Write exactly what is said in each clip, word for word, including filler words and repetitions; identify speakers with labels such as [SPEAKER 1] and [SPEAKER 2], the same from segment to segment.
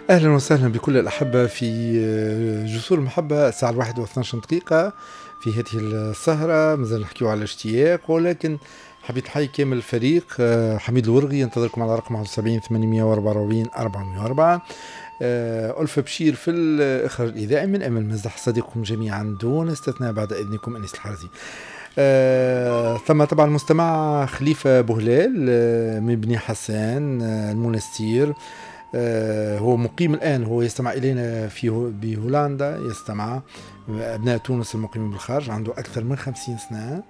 [SPEAKER 1] أهلا وسهلا بكل الأحبة في جسور المحبة. الساعة الواحدة واثناش دقيقة في هذه السهرة مازال نحكيو على الاشتياق، ولكن حبيت نحيي كامل الفريق. حميد الورغي ينتظركم على رقم واحد وسبعين ثمانمائة وأربعة وأربعين أربعمائة وأربعة. ألفة بشير في الإخراج الإذاعي، من أمل مزدح صديقكم جميعا دون استثناء بعد إذنكم أنيس الحرزي. آه، ثم طبعا المستمع خليفة بوهلال آه، من بني حسان آه، المنستير، آه، هو مقيم الآن، هو يستمع إلينا في بهولندا، يستمع أبناء تونس المقيمين بالخارج، عنده أكثر من خمسين سنة،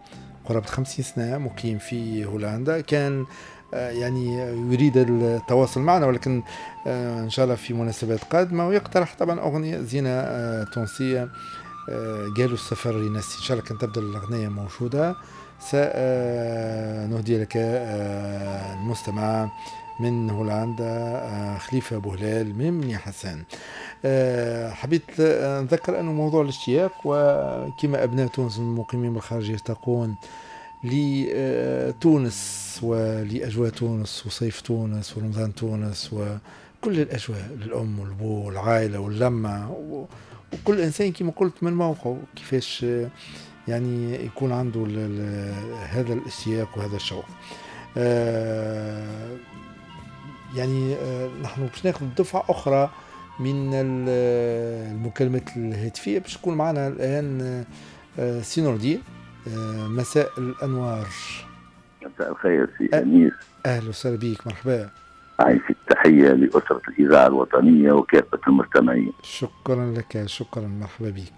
[SPEAKER 1] قرابة خمسين سنة مقيم في هولندا. كان آه، يعني يريد التواصل معنا، ولكن آه، إن شاء الله في مناسبات قادمة، ويقترح طبعا أغنية زينة آه، تونسية قالوا السفر ينسي. إن شاء الله كان تبدأ الأغنية موجودة سنهدي لك المستمع من هولندا خليفة بوهلال من بني حسان. حبيت نذكر أنه موضوع الاشتياق، وكما أبناء تونس المقيمين بالخارج يشتاقون لتونس ولأجواء تونس وصيف تونس ورمضان تونس وكل الأجواء، للأم والأبو والعائلة واللمة، وكل إنسان كما قلت من موقعه كيفاش يعني يكون عنده هذا الاشتياق وهذا الشوق. يعني نحن باش ناخذ دفعة أخرى من المكالمات الهاتفية باش تكون معنا الآن سي نور الدين. مساء الأنوار.
[SPEAKER 2] مساء الخير سي أنيس.
[SPEAKER 1] أهلا وسهلا بك، مرحبا.
[SPEAKER 2] عايش التحية لأسرة الإذاعة الوطنية وكافة المستمعين.
[SPEAKER 1] شكرا لك، شكرا، مرحبا بك.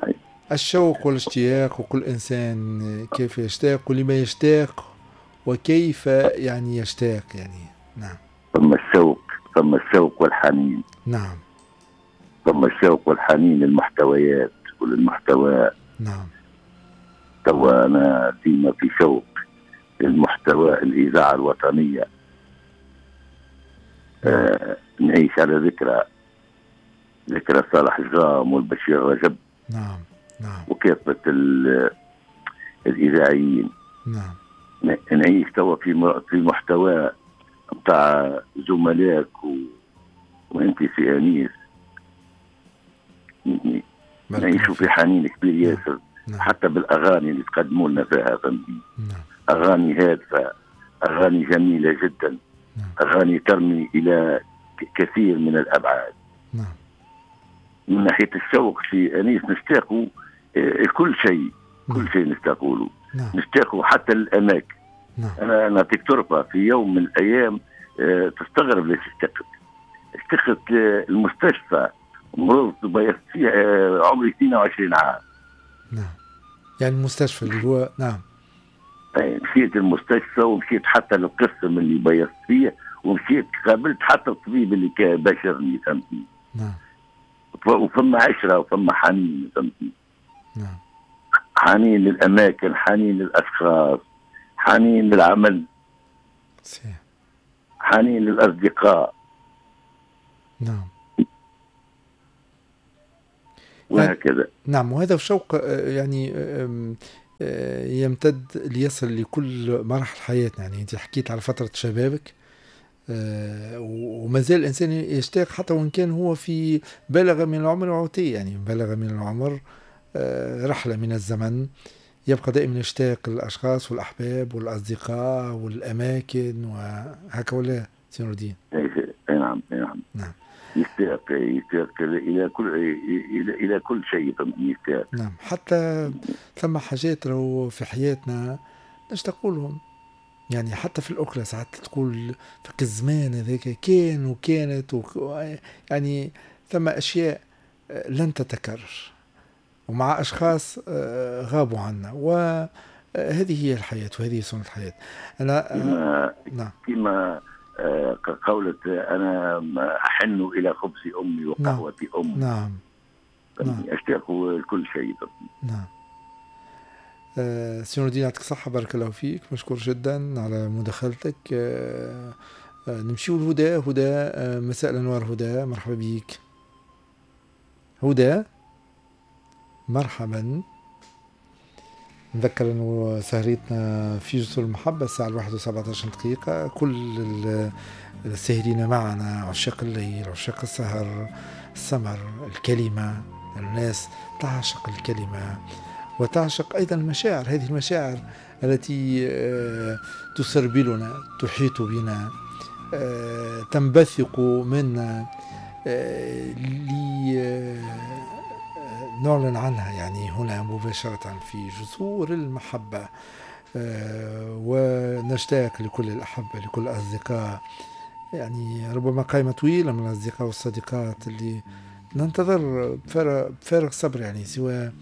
[SPEAKER 1] عايش. الشوق والاشتياق، وكل إنسان كيف يشتاق ولما يشتاق وكيف يعني يشتاق يعني. نعم.
[SPEAKER 2] ثم الشوق، ثم الشوق والحنين.
[SPEAKER 1] نعم.
[SPEAKER 2] ثم الشوق والحنين للمحتويات وللمحتوى.
[SPEAKER 1] نعم.
[SPEAKER 2] توا أنا ديما في شوق للمحتوى الإذاعة الوطنية. آه نعيش على ذكرى ذكرى صالح الجام والبشير رجب.
[SPEAKER 1] نعم. نعم.
[SPEAKER 2] وكافة الإذاعيين.
[SPEAKER 1] نعم.
[SPEAKER 2] نعيش توا في في محتوى نتاع زملائك و... وانت في انيس. نعيشوا في حنين كبير ياسر.
[SPEAKER 1] نعم.
[SPEAKER 2] حتى بالاغاني اللي تقدموا لنا فيها، فهمتني؟
[SPEAKER 1] نعم.
[SPEAKER 2] اغاني هادفة، اغاني جميلة جدا.
[SPEAKER 1] نعم.
[SPEAKER 2] اغاني ترمي الى كثير من الابعاد.
[SPEAKER 1] نعم.
[SPEAKER 2] من ناحية الشوق في انيس نشتاقوا كل شيء.
[SPEAKER 1] نعم.
[SPEAKER 2] كل شيء نشتاقوا له.
[SPEAKER 1] نعم.
[SPEAKER 2] نشتاقوا حتى الاماكن.
[SPEAKER 1] نعم.
[SPEAKER 2] انا نعطيك ترفه في يوم من الايام أه تستغرب ليش اشتقت. اشتقت المستشفى، مرضت وبيضت فيه أه عمري اثنين وعشرين عام.
[SPEAKER 1] نعم. يعني المستشفى اللي هو. نعم.
[SPEAKER 2] مشيت المستشفى ومشيت حتى للقسم اللي بيضت فيه، ومشيت قابلت حتى الطبيب اللي باشرني، فهمتني؟
[SPEAKER 1] نعم.
[SPEAKER 2] وفما عشرة وفما حنين، فهمتني؟
[SPEAKER 1] نعم.
[SPEAKER 2] حنين للاماكن، حنين للاشخاص، حنين للعمل،
[SPEAKER 1] صحيح،
[SPEAKER 2] حنين للاصدقاء.
[SPEAKER 1] نعم.
[SPEAKER 2] وهكذا.
[SPEAKER 1] نعم. وهذا الشوق يعني يمتد ليصل لكل مراحل حياتنا. يعني انت حكيت على فترة شبابك، وما زال الانسان يشتاق حتى وان كان هو في بلغ من العمر عتي، يعني بلغ من العمر رحلة من الزمن، يبقى دائما يشتاق للأشخاص والأحباب والأصدقاء والأماكن وهكا، ولا سي نور الدين؟
[SPEAKER 2] نعم. نعم.
[SPEAKER 1] نعم.
[SPEAKER 2] يشتاق يشتاق إلى كل إلى إلى كل شيء، يشتاق.
[SPEAKER 1] نعم. حتى ثم حاجات راهو في حياتنا نشتاق لهم، يعني حتى في الأكلة ساعات تقول فك الزمان هذاك كان وكانت و... يعني ثم أشياء لن تتكرر، ومع أشخاص غابوا عنا، وهذه هي الحياة وهذه سنة الحياة. أنا
[SPEAKER 2] كما
[SPEAKER 1] نعم.
[SPEAKER 2] كما قولت أنا أحن إلى خبز أمي وقهوة أمي.
[SPEAKER 1] نعم. نعم.
[SPEAKER 2] أشتاق لكل شيء.
[SPEAKER 1] نعم. آه سي نور الدين يعطيك الصحة، بارك الله فيك، مشكور جدا على مداخلتك. آه آه نمشيو لهدى. هدى، آه مساء الأنوار هدى، مرحبا بك. هدى مرحبا. نذكر انه سهرتنا في جسور المحبة الساعة الواحدة وسبعة عشر دقيقة. كل الساهرين معنا عشاق الليل، عشاق السهر، السمر، الكلمة. الناس تعشق الكلمة وتعشق أيضا المشاعر، هذه المشاعر التي تسربلنا، تحيط بنا، تنبثق منا لنعلن عنها يعني هنا مباشرة في جسور المحبة. ونشتاق لكل الأحبة، لكل الأصدقاء، يعني ربما قائمة طويلة من الأصدقاء والصديقات اللي ننتظر بفارغ الصبر، يعني سواء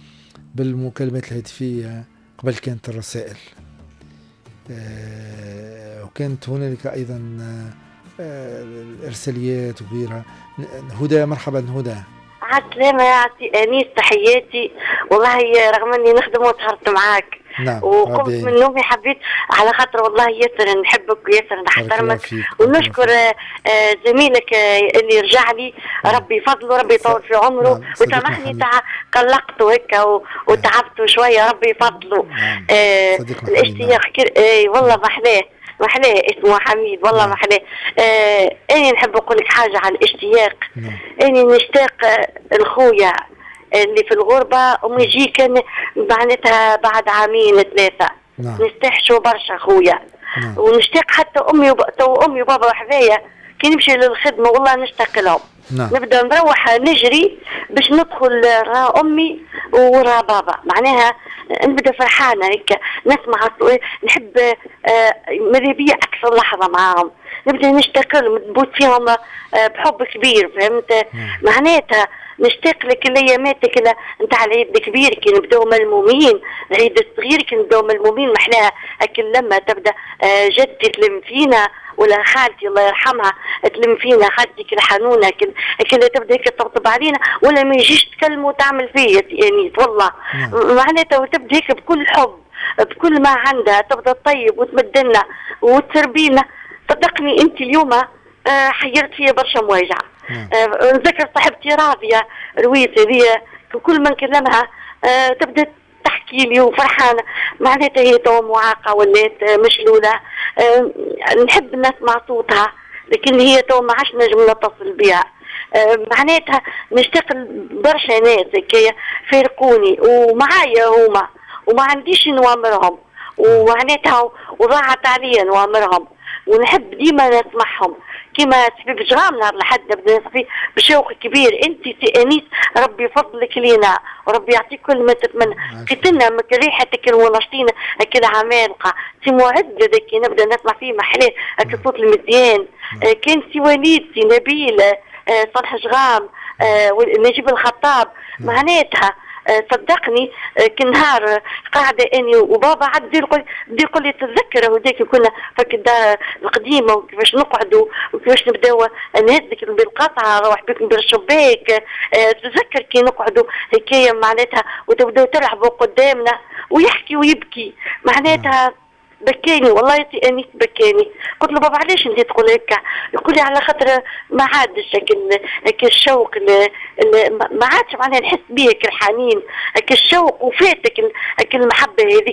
[SPEAKER 1] بالمكالمات الهاتفية، قبل كانت الرسائل، وكانت هنالك أيضا الإرساليات وغيرها. هدى، مرحبا هدى.
[SPEAKER 3] عسلامة يا عسي أنيس، تحياتي. والله رغم أني نخدم وسهرت معاك. نعم. وقمت من نومي حبيت على خاطر والله ياسر نحبك وياسر نحترمك، ونشكر زميلك اللي رجع لي. نعم. ربي يفضله، ربي يطول في عمره. نعم. وسامحني تع... قلقته هيك وتعبته شوية، ربي يفضله. نعم. آه الاشتياق كر... آه والله محلاه محلاه اسمه حميد، والله نعم. محلاه. آه اني نحب نقول لك حاجة على الاشتياق. نعم. اني نشتاق لخويا اللي في الغربة وما يجي كان معناتها بعد عامين ثلاثة. نعم. نستحشوا برشا خويا. نعم. ونشتاق حتى امي وب... تو امي وبابا وحذايا كي نمشي للخدمة والله نشتاق لهم. نعم. نبدا نروح نجري باش ندخل را امي ورا بابا، معناها نبدا فرحانة هيك، نسمع نحب آه ماذا بيا اكثر لحظة معاهم، نبدا نشتاق لهم، نبوت فيهم آه بحب كبير، فهمت؟ نعم. معناتها نشتاق لك الايامات نتاع العيد الكبير كي نبداو ملمومين، العيد الصغير كي نبداو ملمومين، محلاها هاك اللمة تبدا جدتي تلم فينا ولا خالتي الله يرحمها تلم فينا، خالتي كل حنونه كل كل تبدا هيك تطبطب علينا، ولا ما يجيش تكلم وتعمل فيا يعني والله. معناتها وتبدا هيك بكل حب بكل ما عندها، تبدا تطيب وتمدلنا وتربينا. صدقني انت اليوم حيرت فيا برشا مواجعه. آه نذكر صاحبتي راضية رويت هذه كل ما نكلمها آه تبدا تحكي لي وفرحانه، معناتها هي تو معاقه ولات مشلوله، آه نحب نسمع صوتها لكن هي تو ما عادش نجم نتصل بها. آه معناتها نشتاق برشا ناس هكايا فارقوني ومعايا هما وما عنديش نوامرهم، ومعناتها وضاعت عليا نوامرهم، ونحب ديما نسمعهم. كما سبيب جرام نهار لحد نبدا نصفي بشوق كبير. انت سي انيس ربي يفضلك لينا وربي يعطيك كل ما تتمنى. قتلنا من ريحتك المنشطين هكا العمالقة سي معد كي نبدا نسمع فيه محلاه هكا الصوت المزيان. آه كان سي وليد، سي نبيل، آه صالح جغام، آه نجيب الخطاب. معناتها صدقني كنهار قاعدة اني وبابا عاد يقول يقول لي تتذكر هذاك كنا فك الدار القديمة وكيفاش نقعدوا وكيفاش نبداو نهزك بالقطعه روح بك بالشباك، تتذكر كي نقعدوا هكايا معناتها وتبداو تلعبوا قدامنا ويحكي ويبكي معناتها بكاني والله انيس بكاني. قلت له بابا علاش انت تقول هكا؟ يقول لي على خاطر ما عادش هكا الشوق، ما عادش معناها نحس بيه هكا الحنين هكا الشوق وفاتك هكا المحبة هذيك.